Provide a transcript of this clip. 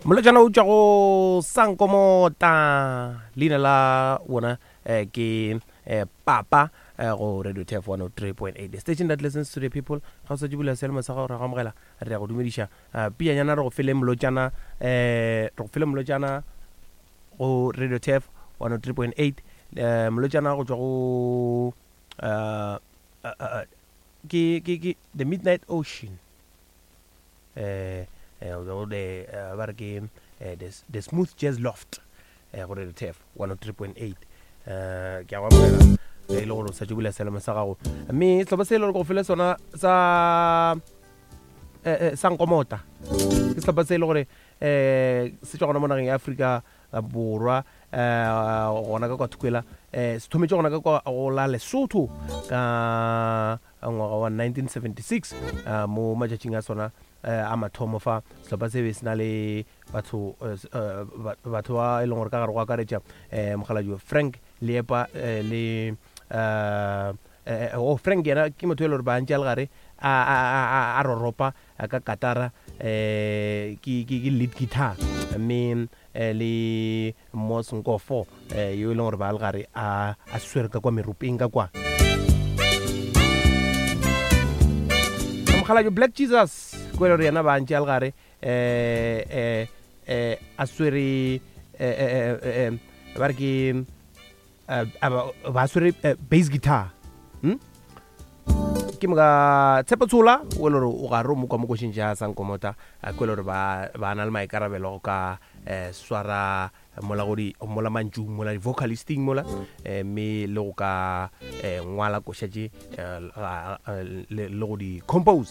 Molotšana o tšwa go Sankomota, leina la wona eh, ke eh, Papa eh, go Radio Turf 103.8, the station that listens to the people. Ga o sa tšebula sealemo sa gago, re go amogela, re ya go dumediša. Uh, piyanyana re go fele molotšana, eh, re go fele molotšana go Radio Turf 103.8, eh, molotšana go tšwa go uh, uh, uh, ke, ke, ke The Midnight Ocean. Eh, eh, o the, eh, ba re ke eh, the, the Smooth Jazz Loft eh, go Radio Turf 103.8. Eh, ke a go amogela ge e le gore o sa tšo bula sealemo sa gago, mme sehlopha se e le gore ke go fele sona sa eh, eh, sa Nkomota ke sehlopha se e le gore eh, se tšwa gona mo nageng ya Afrika Borwa, eh, gona ka kwa Thukwela, eh, se thometše gona ka kwa go la Lesotho ka ngwaga wa 1976. eh, Mo matšatšing a sona eh, a mathomo fa, sehlopha se be se na le batho eh, eh, batho ba e leng gore ka gare go akaretša eh, mokgalajwe Frank Leepa eh, le eh, eh, oh, Frank yena ke motho e le gore ba ntše a le gare a, a, a, a, a roropa ka katara, eh, ke, ke, ke lead guitar, mme eh, le Mos Nkofo eh, yo e leng gore ba le gare a, a swere ka kwa meropeng ka kwa. Mokgalabje Black Jesus ko e le gore yena ba ntše a le gare eh, eh, eh, a swere eh, eh, eh, eh, ba re ke eh, ba swere eh, bass guitar, hmm? Ke moka Tshepo Tshola o le gore o gare o mo kwa mo košeng ja Sankomota, ko le gore ba ba na le maikarabelo go ka eh, swara mola go di mola mantšung mola di-vocalisting mola, eh, mme le go ka eh, ngwala koša tše eh, le go di compose.